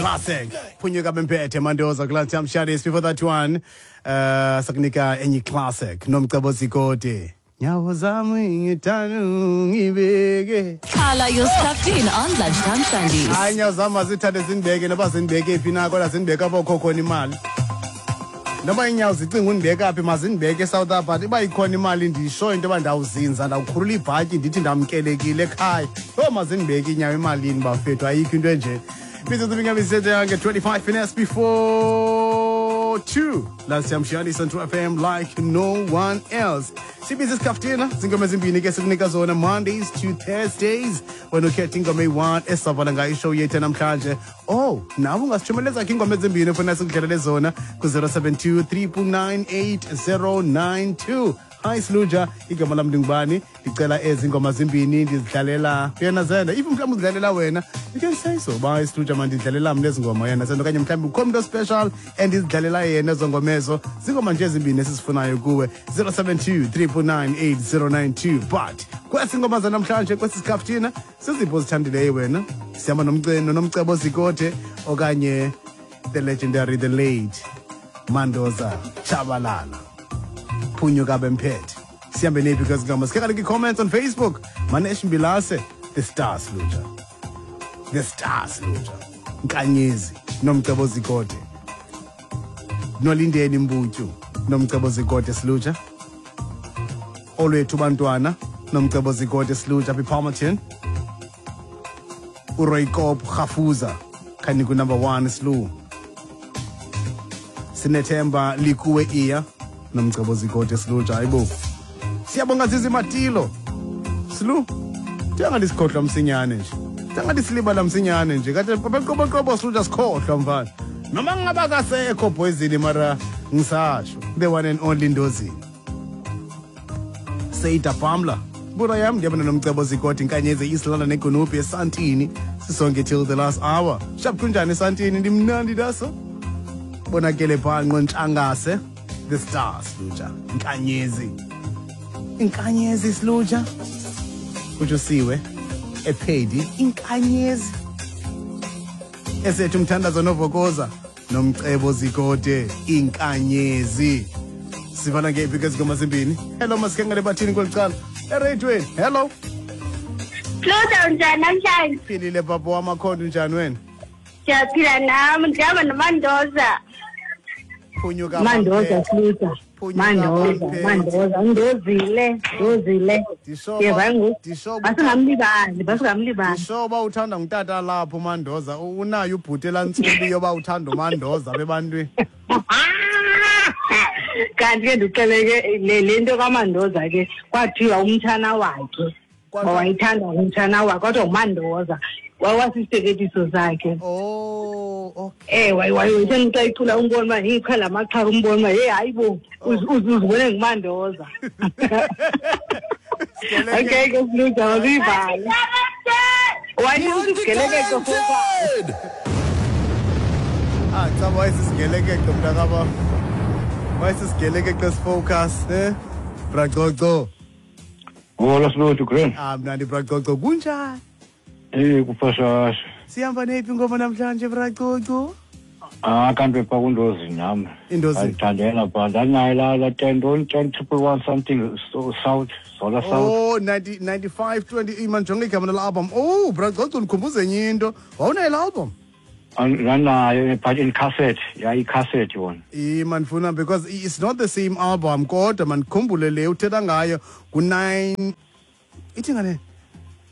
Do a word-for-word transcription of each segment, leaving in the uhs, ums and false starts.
Classic. Phunyuka bemphethe Mandoza Lunchtime Shandies. Before that one, uh sakunika enye classic Nomcebo Zikode. Nyawo zami ngithanda ngibeke. Khala, you're stuffed in on Lunchtime Shandies. Hayi, nyawo zami azithande zindibeke noba zindibeke phi na, kodwa zindibeke apho kukho khona imali. Noba iinyawo zicinga undibeka phi, mazindibeke eSouth Africa. Uba ikhona imali, ndisho into yoba ndawuzinza, ndawukhulula ibhatyi, ndithi ndamkelekile ekhaya. Yho, mazindibeke iinyawo emalini bafethu, ayikho into enje. Mizuzu mingabi yange twenty-five minutes before two. Lunchtime Shandies on True F M like no one else. Sibiza isikaftina, zingoma ezimbini ke sikunika zona Mondays to Thursdays. Wena ukhetha ingoma eyi-one esavala ngayo ishow yethu namhlanje. Oh, nawe ungasithumeleza ke ingoma ezimbini ofuna sikudlalele zona ku-zero seven two three nine eight zero nine two. Hi Sluja, igama lam ndingubani? Ndicela ezi ngoma zimbini ndizidlalela yena zenda. If mhlawumbi uzidlalela wena, you can say so. Ba Sluja, mandidlalela mna ezi ngoma yena zenda, okanye mhlawumbi ukho umntu special endizidlalela yena ezo ngoma ezo. Zingoma nje ezimbini esizifunayo kuwe. zero seven two three nine eight zero nine two. But kwesi ngoma zanamhlanje, kwesi sikaftina, ziziphi ozithandileyo wena? Sihamba nomceno Nomcebo Zikode okanye the legendary, the late Mandoza Tshabalala. Phunyuka bemphethe. Sihambe nephi kwezi ngoma? Sikhe kaloku i-comments on Facebook. Manesh Mbilase, the stars Luja. The stars Luja. Nkanyezi Nomcebo Zikode. Nolindeni Mbutyu Nomcebo Zikode Siluja. Olwethu bantwana Nomcebo Zikode Siluja apha ePalmerton. uRoy Kop Khafuza khani ku number one Slu. Sinethemba likuwe iya Nomcebo Zikode Siluja, hayibo. Siyabonga Zizi Matilo. Slu. Ndingathi sikhohlwa msinyane nje. Ndingathi silibala msinyane nje. Kade qobo qobo Siluja sikhohlwa mfana. Noma ngaba kasekho boyzini, mara ngisasho. The one and only Ndozini. Seyida Pamla. Bura yam ndiyabona Nomcebo Zikode, inkanyezi East London eGonupi eSantini. Sisonke till the last hour. Sharp, kunjani eSantini? Ndimnandi daso. Bonakele pha nqontshangase. The stars Luja. Inkanyezi. Inkanyezi Sluja. Kutsho siwe ephedi inkanyezi. Esethu umthandazo novokoza Nomcebo Zikode inkanyezi. Sivana ngephi ke zingoma zimbini? Hello, masikengele bathini kweli cala? Eradiweni. Hello. Luda, unjani namhlanje? Philile baba wamakhondo, unjani wena? Siyaphila nami, ndihamba noMandoza. Phunyuka Mandoza Sluta. Phunyuka Mandoza, Baphethe. Mandoza, ndozile, ndozile. Ndisho Yeva ngoku. ndisho Basingamlibali, basingamlibali. Ndisho uba uthanda ngutata lapho uMandoza, unayo ubhuti elantsubi yoba uthanda uMandoza bebantwini. Kanti ke ndixeleke le le nto kaMandoza ke kwathiwa umtshana wakhe. Kwathiwa- Wayithanda umtshana wakhe kodwa uMandoza wawasiseketiso sakhe. Oh, okay. Eh, wayewaye xa icula umbona uba iqhala amaqhaka, umbona uba hey, hayi bo, uz- uz- uzibone nguMandoza. Okay ke Sluta, masiyivale. Wathi usisigelekeqe futhi. Ah, cha, wayesisigelekeqe mntakaba. Wayesisigelekeqe sifocus, eh? Bracoco. Hola Sluthu, grand. Ah, mnandi Bracoco, kunjani? Eh, kuphashasha. Sihamba nephi ingoma namhlanje, Bracoco? Ah, kanti pha kundozi nami. Indozini. Ayithandela pha. Ndanayo la la ten don't ten triple one something so, South, Zola South. Oh, ninety ninety-five twenty, imanjonge igama la album. Oh, Bracoco, ndikhumbuze enye into. Wawunayo la album? Ndanayo but in cassette. Yeah, i cassette yona. Ima ndifuna because it's not the same album, kodwa mandikhumbule le uthetha ngayo ku-nine ithi ngane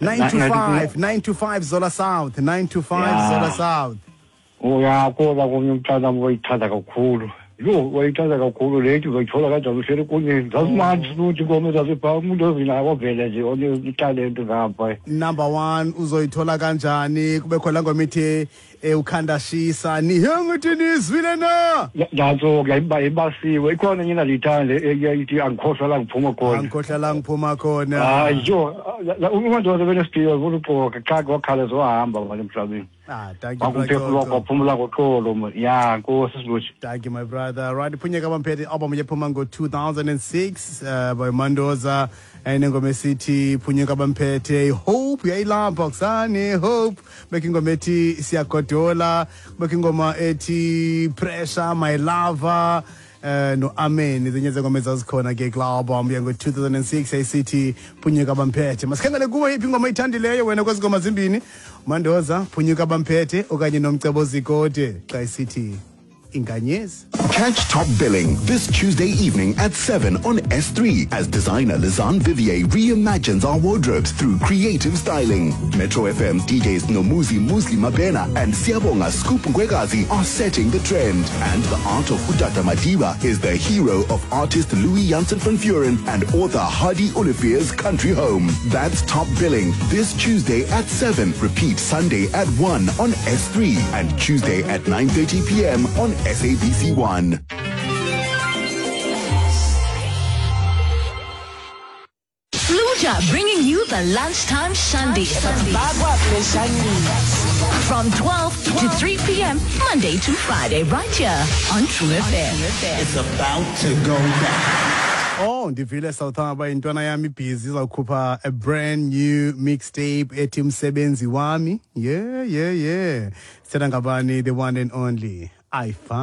nine two five nine two five Zola South, nine two five Yeah. Zola South. Oh ya, kuba komnye umntana wayithanda kakhulu. Yho, wayithanda kakhulu le nto, uzoyithola kanjani uhleli kunye. Zazimandi Sluthu ingoma ezazipha umuntu ozinayo wavele nje onetalente ngapha. Number one uzoyithola kanjani, kube khona ngoma ithi eh, ukhanda shisa nihengithi nizwile na. Nantso ke ibasiwe. Ikhona enye endandiyithanda eyayithi angikhohlwa la ngiphuma khona. Angikhohlwa la ngiphuma khona. Hayi yho, uMandoza benesiphiwo, ufuna uxoka qha, wakhala zohamba manje emhlabeni. Ah, thank you, Wakumphefumlo wakho Brother. waphumla ngoxolo. Ya, nkosi Silutsha. Thank you, my brother. Right, Phunyeka Bamphethe album yephuma ngo-two thousand and six uh, by Mandoza, enengoma esithi Phunyeka Bamphethe, Hope uyayilapha kusani Hope, beka ingoma ethi Siyagodola, beka ingoma ethi Pressure, My Lover, eh no Amen, ezinye zengoma ezazikhona ke kula album yango-two thousand and six ayisithi Phunyeka Bamphethe. Masikhangele kuwe, yiphi ingoma oyithandileyo wena kwezi ngoma zimbini, Mandoza, Phunyuka Bamphethe, okanye Nomcebo Zikode xa isithi Inkanyezi? Catch Top Billing this Tuesday evening at seven on S three as designer Lizanne Vivier reimagines our wardrobes through creative styling. Metro F M D Js Nomuzi Musli Mabena and Siabonga Scoop Ngwekazi are setting the trend. And the art of Udata Madiba is the hero of artist Louis Janssen van Vuren and author Hardy Olivier's country home. That's Top Billing this Tuesday at seven. Repeat Sunday at one on S three and Tuesday at nine thirty p m on S A B C one. Fluja bringing you the lunchtime shandy. From twelve to three p m. Monday to Friday, right here on True F M. It's about to go down. Oh, ndivile South Harbor, intwana yami ibhizi izawukhupha a brand new mixtape ethi Umsebenzi Wami. Yeah, yeah, yeah. Sithetha ngabani? The one and only iFun.